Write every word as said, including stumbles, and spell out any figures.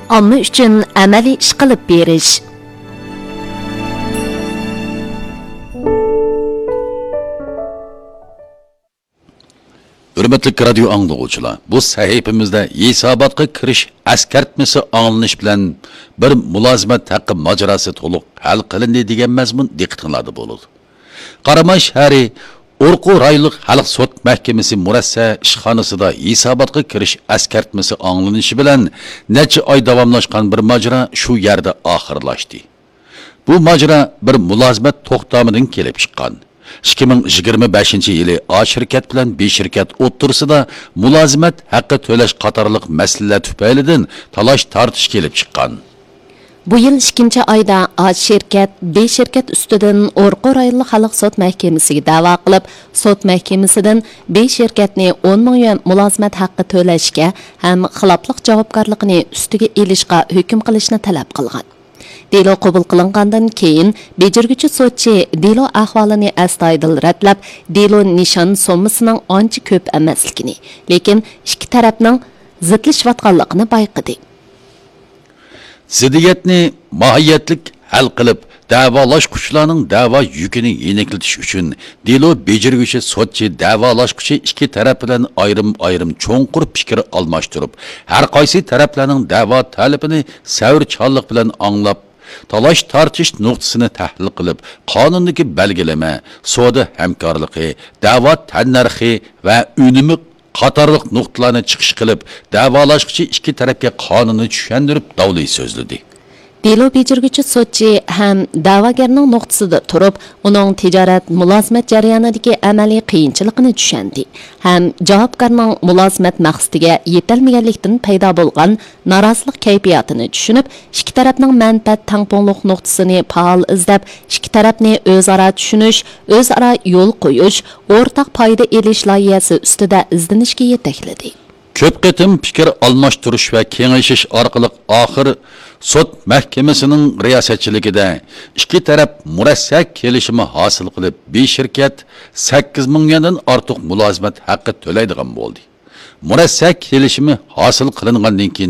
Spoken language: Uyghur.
ئامما ئۈچۈن ئەمەلىي ئىش قىلىپ بېرىش. ھۆرمەتلىك رادىيو ئاڭلىغۇچىلار، بۇ سەھىپىمىزدە ھېساباتقا كىرىش ئەسكەرتمىسى ئاڭلىنىش بىلەن بىر مۇلازىمەت ھەققى ماجىراسى تولۇق ھەل قىلىندى دېگەن مەزمۇن دىققىتىڭلاردا بولىدۇ. قاراماي شەھىرى ئورقۇ رايونلۇق خەلق سوت مەھكىمىسى مۇرەسسە ئىشخانىسىدا ھېساباتقا كىرىش ئەسكەرتمىسى ئاڭلىنىشى بىلەن نەچچە ئاي داۋاملاشقان بىر ماجىرا شۇ يەردە ئاخىرلاشتى. بۇ ماجىرا بىر مۇلازىمەت توختامىدىن كېلىپ چىققان. ئىككى مىڭ يىگىرمە بەشىنچى يىلى ئا شىركەت بىلەن بې شىركەت ئوتتۇرىسىدا مۇلازىمەت ھەققى تۆلەش قاتارلىق مەسىلىلەر تۈپەيلىدىن تالاش-تارتىش كېلىپ چىققان. بۇ يىل ئىككىنچى ئايدا ئا شىركەت بې شىركەت ئۈستىدىن ئورقۇ رايونلۇق خەلق سوت مەھكىمىسىگە دەۋا قىلىپ، سوت مەھكىمىسىدىن بې شىركەتنى ئون مىڭ يۈەن مۇلازىمەت ھەققى تۆلەشكە ھەم خىلاپلىق جاۋابكارلىقىنى ئۈستىگە ئېلىشقا ھۆكۈم قىلىشنى تەلەپ قىلغان. دېلو قوبۇل قىلىنغاندىن كېيىن، بېجىرگۈچى سوتچى دېلو ئەھۋالىنى ئەستايىدىل رەتلەپ، دېلو نىشان سوممىسىنىڭ ئانچە كۆپ ئەمەسلىكىنى، لېكىن ئىككى تەرەپنىڭ زىتلىشىۋاتقانلىقىنى بايقىدى. زىددىيەتنى ماھىيەتلىك ھەل قىلىپ، دەۋالاشقۇچىلارنىڭ دەۋا يۈكىنى يېنىكلىتىش ئۈچۈن، دېلو بېجىرگۈچى سوتچى دەۋالاشقۇچى ئىككى تەرەپ بىلەن ئايرىم-ئايرىم چوڭقۇر پىكىر ئالماشتۇرۇپ، ھەر قايسى تەرەپلەرنىڭ دەۋا تەلىپىنى سەۋرچانلىق بىلەن ئاڭلاپ، تالاش-تارتىش نۇقتىسىنى تەھلىل قىلىپ، قانۇندىكى بەلگىلىمە، سودا ھەمكارلىقى، دەۋا تەننەرخى ۋە ئۈنۈمى قاتارلىق نۇقتىلارنى چىقىش قىلىپ، دەۋالاشقۇچى ئىككى تەرەپكە قانۇننى چۈشەندۈرۈپ، داۋلى سۆزلىدى. دېلو بېجىرگۈچى سوتچى ھەم دەۋاگەرنىڭ نۇقتىسىدا تۇرۇپ، ئۇنىڭ تىجارەت مۇلازىمەت جەريانىدىكى ئەمەلىي قىيىنچىلىقىنى چۈشەندى ھەم جاۋابكارنىڭ مۇلازىمەت مەقسىتىگە يېتەلمىگەنلىكتىن پەيدا بولغان نارازىلىق كەيپىياتىنى چۈشىنىپ، ئىككى تەرەپنىڭ مەنپەئەت تەڭپۇڭلۇق نۇقتىسىنى پائال ئىزدەپ، ئىككى تەرەپنى ئۆزئارا چۈشىنىش، ئۆزئارا يول قويۇش، ئورتاق پايدا ئېلىش لايىھەسى ئۈستىدە ئىزدىنىشكە يېتەكلىدى. كۆپ قېتىم پىكىر ئالماشتۇرۇش ۋە كېڭىشىش ئارقىلىق ئاخىر سوت مەھكىمىسىنىڭ رىياسەتچىلىكىدە ئىككى تەرەپ مۇرەسسە كېلىشىمى ھاسىل قىلىپ، بې شىركەت سەككىز مىڭ يۈەندىن ئارتۇق مۇلازىمەت ھەققى تۆلەيدىغان بولدى. مۇرەسسە كېلىشىمى ھاسىل قىلىنغاندىن كېيىن،